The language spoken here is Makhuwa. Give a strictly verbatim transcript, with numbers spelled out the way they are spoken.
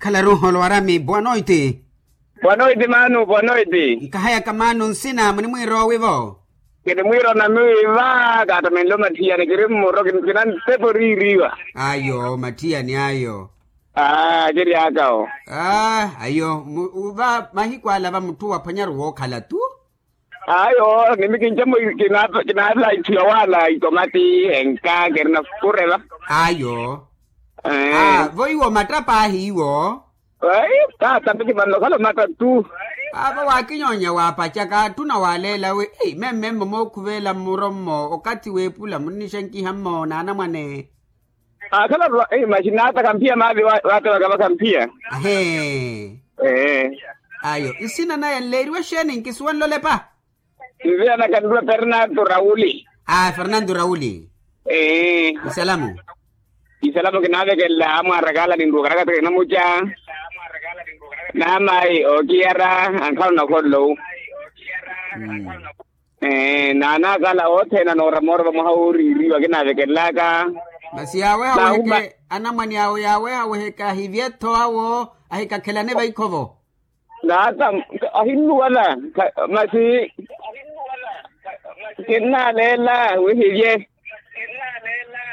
Khalaru holowarami boa noiti. Boa noiti manu boa noiti. Nkahayaka manu nsina munimwiirowivo. Kinimwiirona miwiva kaatamenle omathiyani kiri mmuro kina ntepo riiriwa. Ayo mathiyani ayo. Aa kiri aka o. Aa ayo. Uva mahiku ala va mutthu waphwanyaru wookhala tu. Ayo nimi kinca-mo kinaatha itthu yawaala itomati enka kirina kureva. Ayo. Vo iwo matta paahi iwo. Ai taata miti vanno khala omatta tu. Avo waakinyoonya waapacaka atthuna waaleela wi. Memmemmo mookhuvela mmuro mmo okathi w'epula munnixenkiha mmo n'anamwane. Akhala maxinaata kamphiya maavi. Waatewaka va kamphiya. Ahee. Ayo nsina naya nleeriwe exeeni nkisuwa nlolepa. Nzina naka nluwa fernanto rauli. Aa fernanto rauli. Ee. Isalamu. Isalamu kinaavekelela amwaarakaala ninruwaka nakathi kinamuca. Naamayi ookiyara ankhala onakholowu. Naanaakala othene anoora moora vamwaha wooriiriwa kinaavekelelaka. Masi yaaweha weheke anamwane awo yaaweha weheke ahivye-tho awo ahikakhelane vaikhovo. Naata ahinnuwala masi kinnaaleela wihivye.